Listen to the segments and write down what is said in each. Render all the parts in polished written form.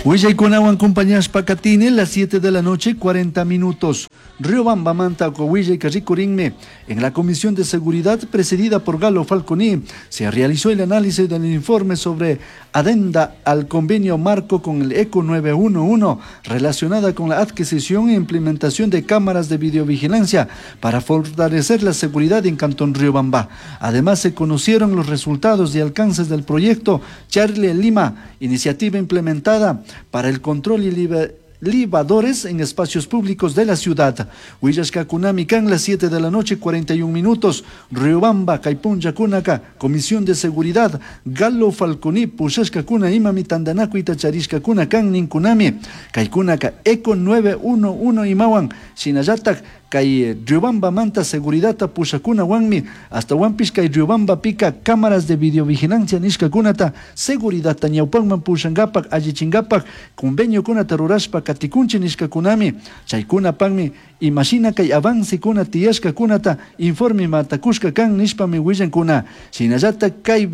Willaykunawan compañashpa katini las 7 de la noche 40 minutos. Riobamba manta Coahuila rikurinmi. En la Comisión de Seguridad presidida por Galo Falconi se realizó el análisis del informe sobre adenda al convenio marco con el ECO 911 relacionada con la adquisición e implementación de cámaras de videovigilancia para fortalecer la seguridad en Cantón Riobamba. Además se conocieron los resultados y alcances del proyecto Charlie Lima, iniciativa implementada para el control y libadores en espacios públicos de la ciudad. Huillashkakunami kan las 7 de la noche 41 minutos. Riobamba, Kaypunlla kunaka, Comisión de Seguridad, Galo Falconi, Pushashkakuna, imami tandanakuita charishkakuna kan ninkunami. Kaykunaka Eco 911 imawan, shinallatak kay Riobamba manta seguridadta pushakunawanmi hasta kay Riobamba pika cámaras de videovigilancia nishkakunata seguridadta ñawpanman pushankapak allichinkapak conveniokunata rurashpa katikunchik nishkakunami chaykunapakmi imashina kay avancekuna tiyashkakunata informe matakushka kan nishpami willankuna shinallatak kay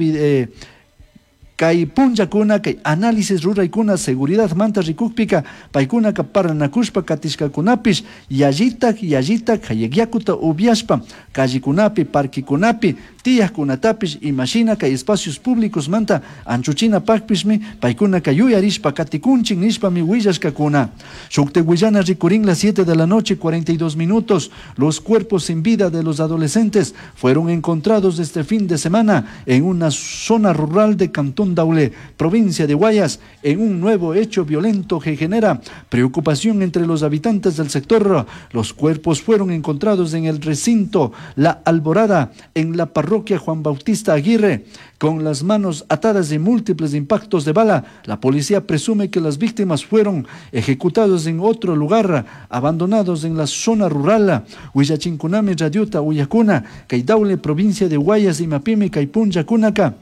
kay punllakuna kay análisis ruraykuna seguridad manta rikukpika paykunaka parlanakushpa katishkakunapish yallitak yallitak hayakyakuta upiashpa callekunapi parquekunapi tiyakkunatapish imashina kay espacios públicos manta anchuchinapakpishmi paykunaka yuyarishpa katikunchik nishpami willashkakuna. Shuktik willana rikurin las 7 de la noche 42 minutos. Los cuerpos sin vida de los adolescentes fueron encontrados este fin de semana en una zona rural de Cantón Daule, provincia de Guayas, en un nuevo hecho violento que genera preocupación entre los habitantes del sector. Los cuerpos fueron encontrados en el recinto La Alborada, en la parroquia Juan Bautista Aguirre, con las manos atadas y múltiples impactos de bala. La policía presume que las víctimas fueron ejecutados en otro lugar, abandonados en la zona rural. Huillachinkunami Radiota Uyakuna, kay Daule, provincia de Guayas, Imapimi, kay punllakunaka.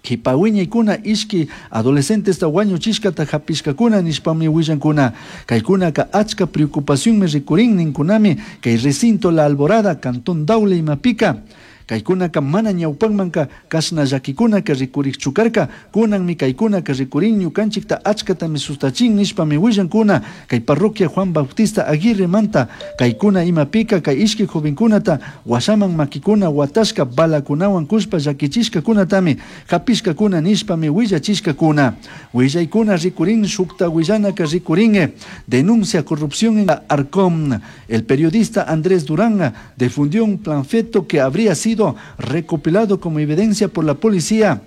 Kipawiñaykuna ishki adolescentes wañuchishkata hapishkakuna nishpami willankuna. Kaykunaka achka preocupacionmi rikurin ninkunami kay recinto La Alborada, Cantón Daule imapika. Kaykunaka mana ñawpanmanka kashna llakikunaka rikurikchu karka kunanmi kaykunaka rikurin ñukanchikta achkatami sustachin nishpami willankuna kay parroquia Juan Bautista Aguirre manta kaykuna imapika kay ishki jovenkunata washaman makikuna watashka balakunawan kushpa llakichishkakunatami hapishkakuna nishpami willachishkakuna. Willaykuna rikurin shukta willanaka rikurin denuncia corrupción en la Arcom. El periodista Andrés Durán difundió un panfleto que habría sido recopilado como evidencia por la policía.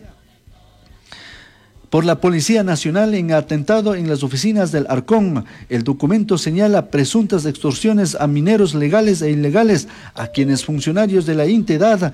Por la Policía Nacional en atentado en las oficinas del Arcón. El documento señala presuntas extorsiones a mineros legales e ilegales, a quienes funcionarios de la entidad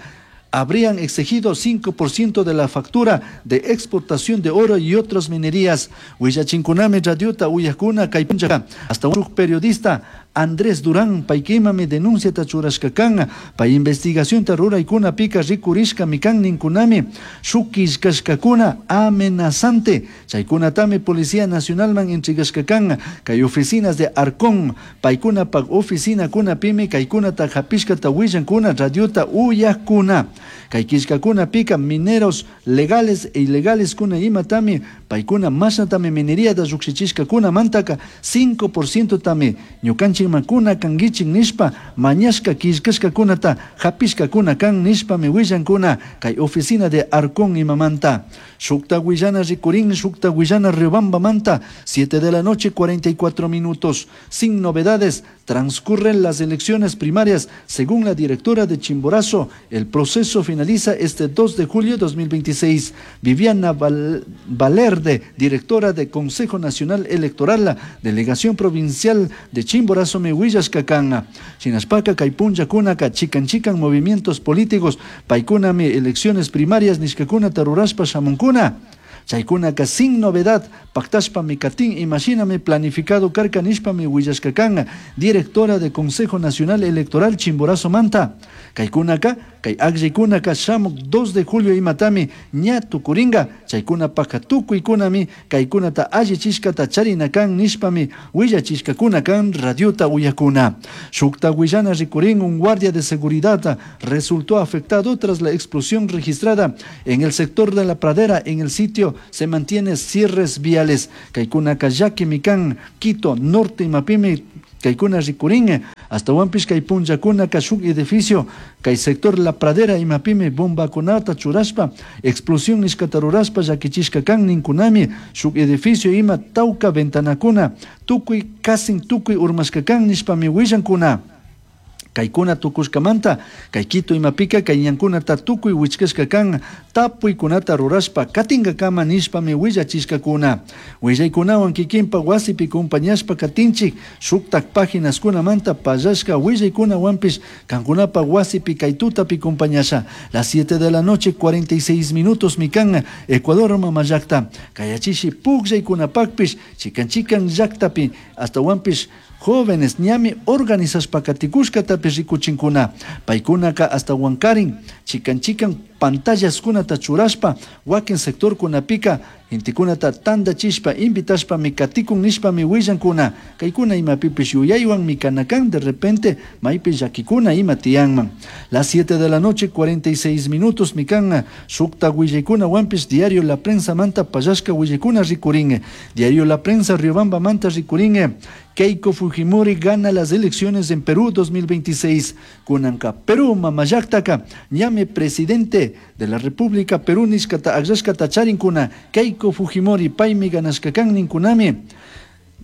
habrían exigido 5% de la factura de exportación de oro y otras minerías. Huillachinkunami radiota uyakuna kaypuncha. Hasta un periodista Andrés Durán paykimami denuncia churashkakan pay investigación ruraykuna pika rikurishka mikan ninkunami shukishkashkakuna amenazante chaykunatami Policía Nacionalman entregashkakan kay oficinas de Arcón paykunapaq oficinakuna pimi kaykunata hapishkata willankuna radiota uyakuna kay killkakuna pika mineros legales e ilegales kuna imatami paykuna mashnatami mineríata llukshichishkakuna mantaka 5% tami ñukanchikman kuna kankichik nishpa mañashka killkashkakunata hapishkakuna kan nishpami willankuna kay oficina de Arcón imamanta. Shukta willana rikurin, shukta willana Riobamba manta, 7 de la noche 44 minutos. Sin novedades, transcurren las elecciones primarias. Según la directora de Chimborazo, el proceso finaliza este 2 de julio de 2026. Viviana Valerde, directora de Consejo Nacional Electoral, la Delegación Provincial de Chimborazo, mi willashkakana. Shinashpaka, kaypunlla kunaka, chikan chikan movimientos políticos, paykunami elecciones primarias, nishkakuna rurashpa shamunkuna. Chaykunaka sin novedad, pactashpa mi katin, imagíname planificado karka nishpami willashkakana, directora de Consejo Nacional Electoral Chimborazo Manta. Kaykunaka Kay akllaykunaka shamuk 2 de julio imatami ña tukurinka. Chaykunapaka tukuykunami kaykunata allichishkata charina kan nishpami willachishkakuna kan radiota uyakuna. Shukta willana rikurin, un guardia de seguridad resultó afectado tras la explosión registrada en el sector de la pradera. En el sitio se mantiene cierres viales. Kaykunaka llakimi kan Quito Norte imapimi kaykuna rikurin. Astawanpish kay punllakunaka shuk edificio kay sector La Pradera imapimi bombakunata churashpa explosión nishkata rurashpa llakichishka kan ninkunami. Shuk edificio ima tawka ventanakuna tukuy kasin tukuy urmashka kan nishpami willankuna. Kaykuna tukushkamanta kay Quito imapika kay ñankunata tukuy wichkashka kan tapuykunata rurashpa katinkakama nishpami willachishkakuna. Willaykunawan kikinpa wasipi compañashpa katinchik shuktak páginaskunamanta pallashka willaykunawanpish kankunapa wasipi kay tutapi compañasha. Las 7 de la noche 46 minutos mikan Ecuador mama llakta kayachishi pukllaykunapakpish chikan chikan llaktapi astawanpish jóvenes ñami organizashpa katikushkatapish rikuchinkuna. Paykunaka hasta wankarin chikan chikan pantallaskunata churashpa wakin sectorkunapika gentekunata tandachishpa invitashpami katikun nishpami willankuna. Kaykuna imapipish yuyaywan mikanakan de repente maypi llakikuna ima tiyanman. Las 7 de la noche 46 minutos mikan shukta willaykuna wanpish diario La Prensa manta pallashka willaykuna rikurin. Diario La Prensa Riobamba manta rikurin. Keiko Fujimori gana las elecciones en Perú 2026. Kunanka Perú mamallaktaka ñami presidente de la República Perú nishkata akllashkata charinkuna. Keiko Fujimori paymi ganashkakan ninkunami.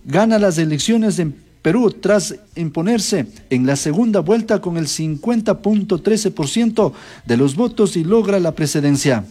Gana las elecciones en Perú tras imponerse en la segunda vuelta con el 50.13% de los votos y logra la presidencia.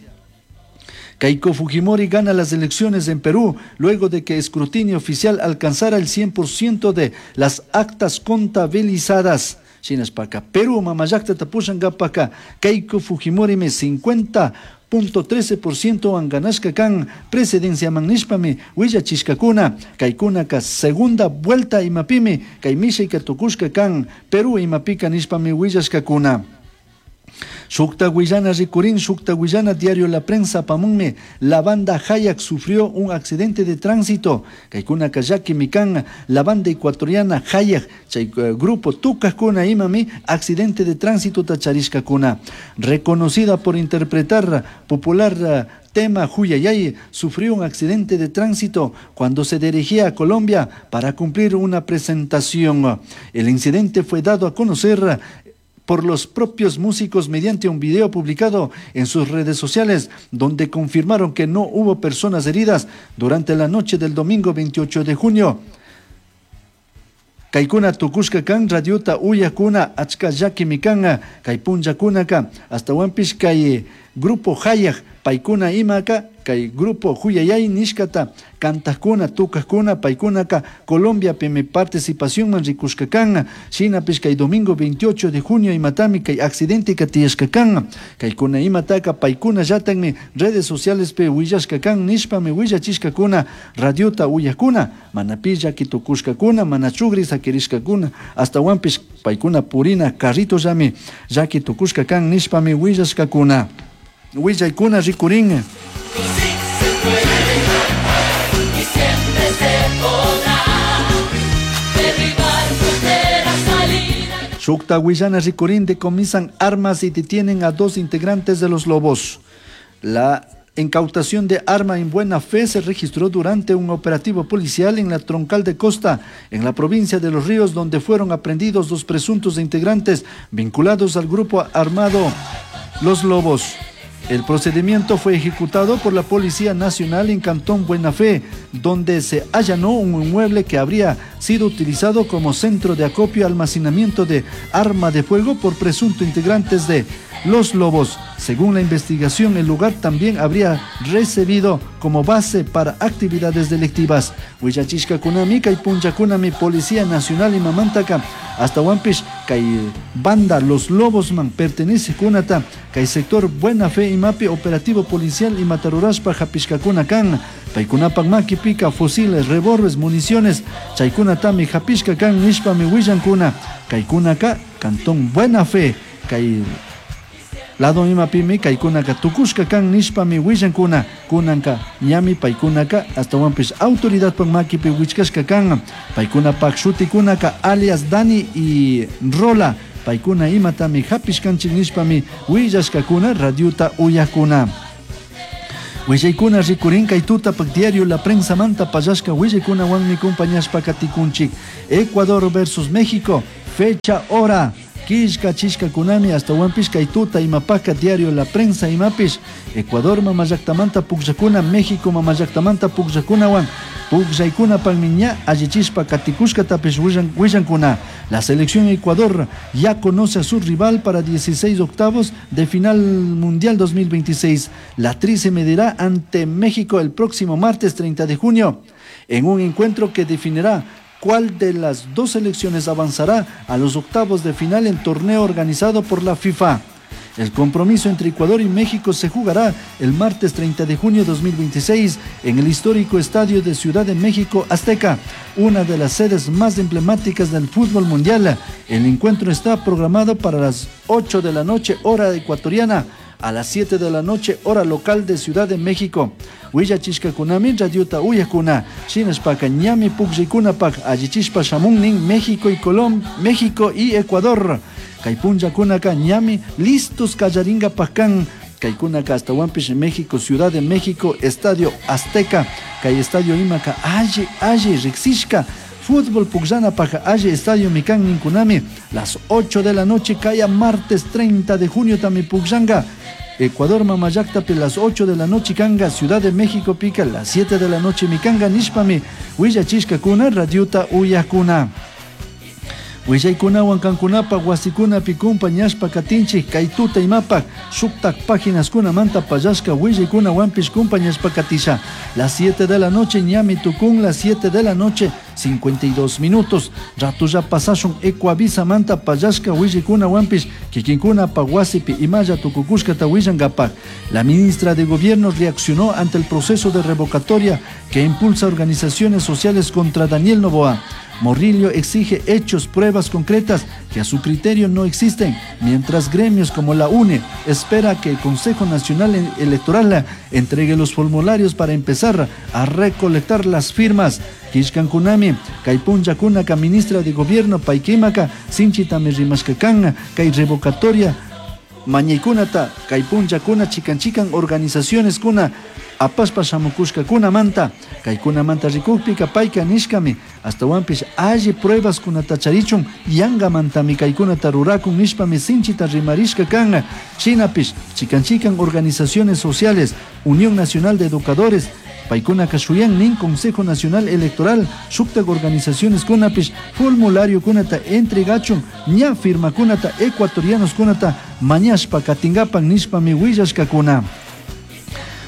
Keiko Fujimori gana las elecciones en Perú luego de que escrutinio oficial alcanzara el 100% de las actas contabilizadas. Shinaspaka Perú mamallakta tapushankapaka Keiko Fujimori me 50.13% an ganashka kan presidencia man nishpami willachishkakuna. Kaykunaka segunda vuelta imapimi kay mishayka tukushka kan Perú imapika nishpami willashkakuna. Shukta willana rikurin, shukta willana diario La Prensa pamunmi, la banda Hayak sufrió un accidente de tránsito. Kaykuna llaki mikan, la banda ecuatoriana Hayak, chay grupo tukakuna imami, accidente de tránsito tacharishkakuna. Reconocida por interpretar popular tema Huyayay, sufrió un accidente de tránsito cuando se dirigía a Colombia para cumplir una presentación. El incidente fue dado a conocer por los propios músicos mediante un video publicado en sus redes sociales, donde confirmaron que no hubo personas heridas durante la noche del domingo 28 de junio. Kaykuna tukushka kan radiota uyakuna achka llakimi kan kay punllakunaka astawanpish kay grupo Hayak paykuna imaka kay grupo Huyayay nishkata kantakuna tukakuna paykunaka Colombiapimi participacionman rikushka kan. Shinapish kay domingo 28 de junio imatami kay accidente tiyashka kan. Kaykuna imataka paykuna llatanmi redes socialespi willashka kan nishpami willachishkakuna radiota uyakuna mana pi llaki tukushkakuna mana chugri sakirishkakuna astawanpish paykuna purina carritollami llaki tukushka kan nishpami willashkakuna. Willaykuna rikurin. Shukta willana rikurin decomisan armas y detienen a 2 integrantes de los Lobos. La incautación de arma en buena fe se registró durante un operativo policial en la Troncal de Costa, en la provincia de Los Ríos, donde fueron aprehendidos 2 presuntos integrantes vinculados al grupo armado Los Lobos. El procedimiento fue ejecutado por la Policía Nacional en Cantón Buena Fe, donde se allanó un inmueble que habría sido utilizado como centro de acopio y almacenamiento de arma de fuego por presuntos integrantes de Los Lobos. Según la investigación, el lugar también habría recibido como base para actividades delictivas. Huillachishka kunami, kay puncha kunami, Policía Nacional y Mamantaka, hasta Huampish, kay banda Los Lobos man pertenece kunata, kay sector Buena Fe y mapi operativo policial y matarurashpa japishkakuna kan, paykunapak maki pika fusiles, revólveres, municiones, chaykunatami japishka kan nishpami willankuna, kaykunaka Cantón Buena Fe, kay Lado imapimi kaykunaka tukushka kan nishpami willankuna. Kunanka ñami paykunaka ashtawanpish autoridadpak makipi wichkashka kan. Paykunapak shutikunaka alias Dani y Rola. Paykuna imatami hapishkanchik nishpami willashkakuna radiota uyakuna. Willaykuna rikurin kay tutapak diario La Prensamanta pallashka willaykunawanmi compañashpa katikunchik. Ecuador versus México, fecha, hora. Killkachishkakunami ashtawanpish kay tuta imapaka diario La Prensa imapish Ecuador mamallaktamanta pukllakuna México mamallaktamanta pukllakunawan pukllaykunapakmi ña allichishpa katikushkatapish willankuna. La selección Ecuador ya conoce a su rival para 16 octavos de final mundial 2026. La Tri se medirá ante México el próximo martes 30 de junio en un encuentro que definirá cuál de las dos selecciones avanzará a los octavos de final en torneo organizado por la FIFA. El compromiso entre Ecuador y México se jugará el martes 30 de junio de 2026 en el histórico Estadio de Ciudad de México Azteca, una de las sedes más emblemáticas del fútbol mundial. El encuentro está programado para las 8 de la noche, hora ecuatoriana, a las 7 de la noche, hora local de Ciudad de México. Willachishkakunami radiota uyakuna, shinashpaka ñami pukllaykunapak allichishpa shamunnin México y Colom, México y Ecuador. Kay punllakunaka ñami listos kallaringapak kan. Kaykunaka ashtawanpish México, Ciudad de México, Estadio Azteca. Kay estadio imaka alli alli riksishka. Fútbol pukllanapaj alli estadio mikan ninkunami. Las 8 de la noche kaya martes 30 de junio tami pukllanga. Ecuador mamallaktapi las 8 de la noche kanga, Ciudad de México pica las 7 de la noche mikanga nishpami willachishkakuna radiota uyakuna. Willaykunawan kankunapak wasikunapi kumpañashpa katinchik kay tuta imapak shuktak páginaskunamanta pallashka willaykunawanpish kumpañashpa katisha. Las 7 de la noche ñami tukun, las 7 de la noche 52 minutos. Ratulla pasashun Ecuavisamanta pallashka willaykunawanpish kikinkunapak wasipi imalla tukukushkata willankapak. La ministra de Gobierno reaccionó ante el proceso de revocatoria que impulsa organizaciones sociales contra Daniel Noboa. Morillo exige hechos, pruebas concretas que a su criterio no existen, mientras gremios como la UNE espera que el Consejo Nacional Electoral entregue los formularios para empezar a recolectar las firmas. Kishkankunami, kay punllakunaka ministra de Gobierno paykimaka, sinchitami rimashkakan, kay revocatoria mañaykunata, kay punllakuna chikan chikan organizaciones kuna apashpa shamukushkakunamanta, kaykunamanta rikukpika payka nishkami, ashtawanpish alli pruebas kunata charichun yangamantami kaykunata rurakun nishpami sinchita rimarishka kan. Shinapish chikan chikan organizaciones sociales, Unión Nacional de Educadores, paykunaka shuyan nin Consejo Nacional Electoral, shuktak organizaciones kunapish formulario kunata entregachun ña firmakunata ecuatorianos kunata mañashpa katingapan nishpami willashkakuna.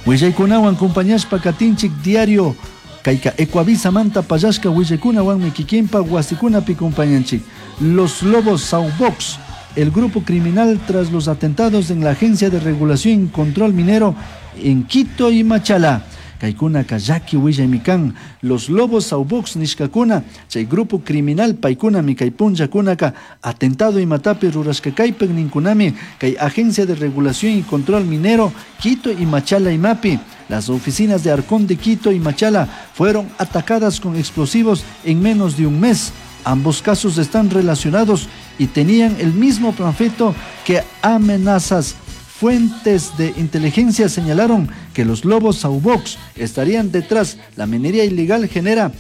Willaykunawan compañashpa katinchik diario kayka Ecuavisamanta pallashka willaykunawanmi kikinpa wasikunapi compañanchik. Los Lobos Saubox, el grupo criminal tras los atentados en la Agencia de Regulación y Control Minero en Quito y Machala. Kaykunaka llaki willaymi kan. Los Lobos Saubox nishkakuna, chay grupo criminal paykunami kay punllakunaka atentado imatapi rurashkakaypak ninkunami kay Agencia de Regulación y Control Minero Quito y Machala imapi. Las oficinas de Arcón de Quito y Machala fueron atacadas con explosivos en menos de un mes. Ambos casos están relacionados y tenían el mismo panfleto que amenazas. Fuentes de inteligencia señalaron que los Lobos Saubox estarían detrás. La minería ilegal genera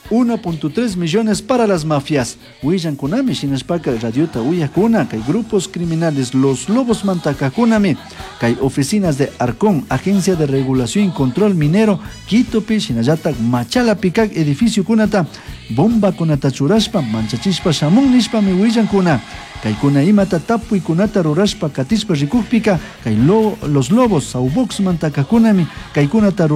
1.3 millones para las mafias. Willankunami shinashpaka radiota uyakuna kay grupos criminales los Lobos mantakakunami kay oficinas de Arcón, Agencia de Regulación y Control Minero, Quitopi shinallatak Machalapi kak edificio kunata bomba kunata churashpa manchachishpa shamun nishpami willankuna. Kaykuna imata tapuykunata rurashpa katishpa rikukpika kay los Lobos Saubox mantakakunami kaykunata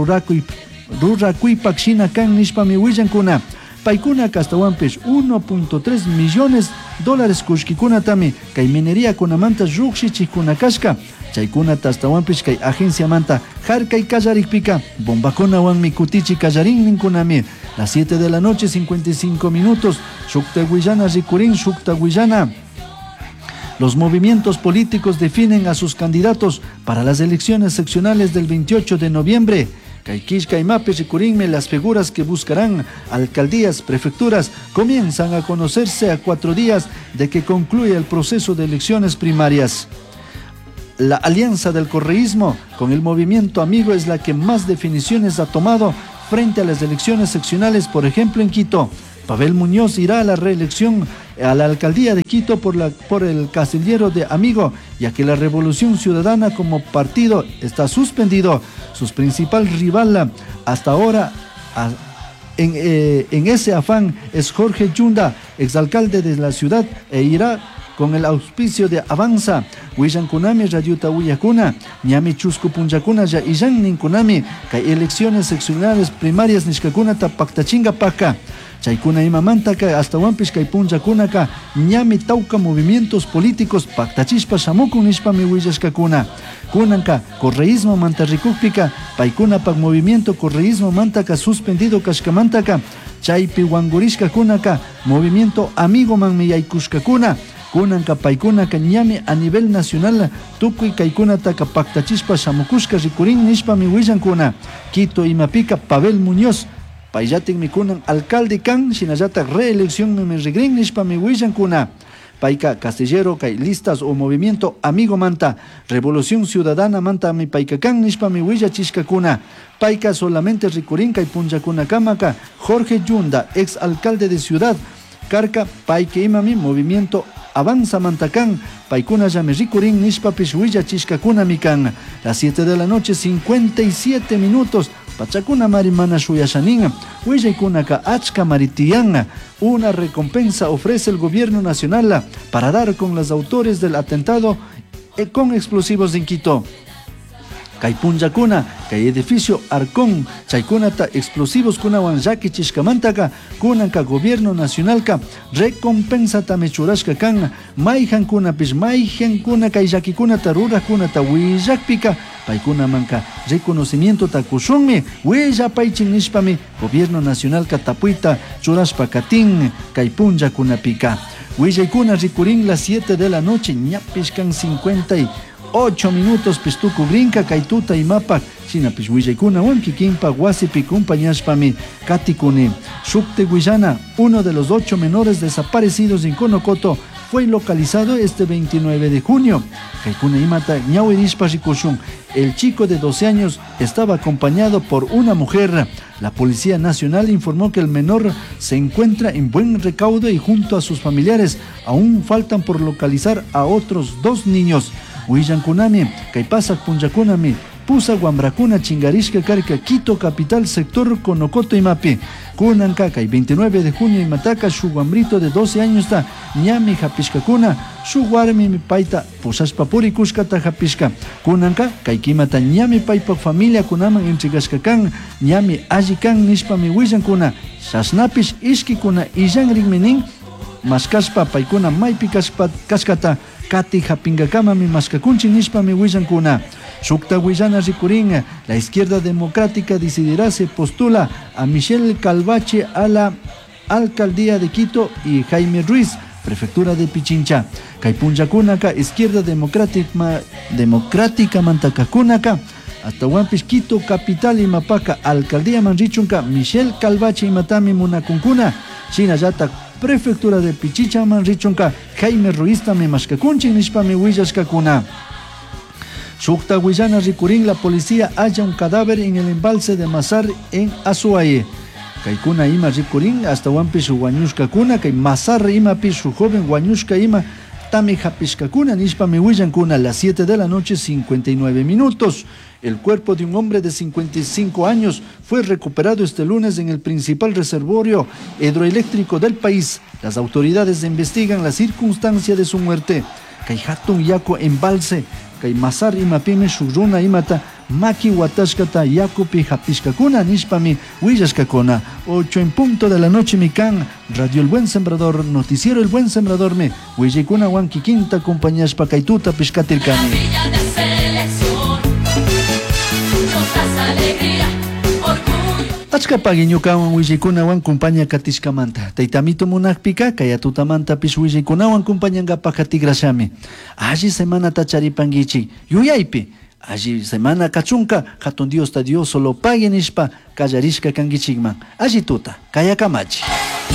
rurakuypak shina kan nishpami willankuna. Paykunaka ashtawanpish 1.3 millones dólares kullkikunatami kay minería kunamanta llukshichikkuna kashka. Chaykunata ashtawanpish kay agenciamanta harkay kallarikpika bombakunawanmi kutichi kallarin ninkunami. Las 7 de la noche 55 minutos shukta willana rikurin shukta willana. Los movimientos políticos definen a sus candidatos para las elecciones seccionales del 28 de noviembre. Kay killka imapi rikurinmi las figuras que buscarán alcaldías, prefecturas, comienzan a conocerse a 4 días de que concluya el proceso de elecciones primarias. La alianza del correísmo con el movimiento Amigo es la que más definiciones ha tomado frente a las elecciones seccionales, por ejemplo en Quito. Pavel Muñoz irá a la reelección a la alcaldía de Quito por el casillero de Amigo, ya que la Revolución Ciudadana como partido está suspendido. Su principal rival hasta ahora en ese afán es Jorge Yunda, exalcalde de la ciudad, e irá con el auspicio de Avanza. Willankunami radiota willakuna, ñami chusku punllakuna ya illan ninkunami, kay elecciones seccionales primarias nishkakunata paktachingapaka. Chaykuna imamantaka astawanpish kay punllakunaka ñami tawka movimientos políticos paktachishpa shamukun nishpami willashkakuna. Kunanka correísmo manta rikukpika, paykunapak movimiento correísmo mantaka suspendido kashkamantaka, chaypi wangurishkakunaka movimiento amigo manmi yaykushkakuna. Kunanka paykunaka ñami a nivel nacional tukuy kaykunataka paktachishpa shamukushka rikurin nishpami willankuna. Quito imapika Pavel Muñoz payllatikmi kunan alcalde kan, shinallatak reelección mi rigrin nishpami willankuna. Payka castillero kay listas o movimiento amigo manta, Revolución Ciudadana manta mi payka kan nishpami willachishkakuna. Payka solamente rikurin kay punllakunakamaka Jorge Yunda, ex alcalde de ciudad, karka payka imami movimiento Avanza mantakan, paykuna llame rikurin nishpapish willachishkakuna mikan. Las 7 de la noche, 57 minutos. Pachakuna mari mana shuyashanin, willaykunaka achka maritiyan. Una recompensa ofrece el gobierno nacional para dar con los autores del atentado con explosivos en Quito. Kay punllakuna, kay edificio Arcón, chaykunata explosivos kunawan llakichishkamantaka, kunanka gobierno nacionalka recompensata mechurashka kan, mayjankunapish, mayjankuna kay llakikunata rurajkunata willakpika, paykunamanka reconocimiento takushunmi, willapaychin nishpami, gobierno nacionalka tapuyta churashpa katin, kay punllakunapika. Willaykuna rikurin las 7 de la noche, ñapishkan 58 minutos pistuku brinca kaytuta imapak shinapish willaykunawan kikinpak wasipi compañashpami katikuni. Shukte Guillana, uno de los 8 menores desaparecidos en Conocoto, fue localizado este 29 de junio. Kaykuna imata ñawirishpa rikushun. El chico de 12 años estaba acompañado por una mujer. La Policía Nacional informó que el menor se encuentra en buen recaudo y junto a sus familiares. Aún faltan por localizar a otros 2 niños. Willankunami, kaypasak punllakunami, pusa guambrakuna chingarishka karka Quito capital sector Conocoto imapi. Kunanka kay 29 de junio imataka shu guambrito de 12 años ta ñami japishkakuna, shu warmi mi paita pusashpa purikushkata japishka. Kunanka kay kimata ñami paypa familia kunaman entregashka kan, ñami alli kan nishpami willankuna. Chashnapish ishkikuna illanrinmi nin, mashkashpa paykuna maypi kashkata kati japingakamami mashkakunchik nishpami willankuna. Shukta willana rikurin, la izquierda democrática decidirá se postula a Michelle Calvache a la alcaldía de Quito y Jaime Ruiz, prefectura de Pichincha. Kay punllakunaka izquierda democrática mantakakunaka, Atahuampish Quito capital imapaka alcaldía manrichunka Michelle Calvache imatami munakunkuna, shinallata prefectura de Pichincha manrichunka Jaime Ruiz tami mashkakunchin nishpami willashkakuna. Shukta Guillana rikurin, la policía halla un cadáver en el embalse de Mazar en Azuay. Kaykuna ima rikurin, hasta huampish huañushkakuna, kay Mazar ima pish joven huañushka ima tami japishkakuna nishpami willankuna. A las 7 de la noche, 59 minutos. El cuerpo de un hombre de 55 años fue recuperado este lunes en el principal reservorio hidroeléctrico del país. Las autoridades investigan la circunstancia de su muerte. Kay hatun yaku embalse, kay Mazar imapimi shukruna imata maki watashkata yakupi hapishkakuna nishpami willashkakuna. 8 en punto de la noche mikan, Radio El Buen Sembrador, Noticiero El Buen Sembrador me willaykuna wan kikinta acompañashpa kaytuta pishkatirkani. Achka pagui ñukawan willaykunawan kumpaña katishkamanta. Taytamito munakpika kaya tutamantapish willaykunawan kumpañankapak tikrashami. Alli semanata charipankichik yuyaypi. Alli semana kachunka hatun Diosta Dios solo pagui nishpa kallarishka kankichikman. Alli tuta, kaya kamachi.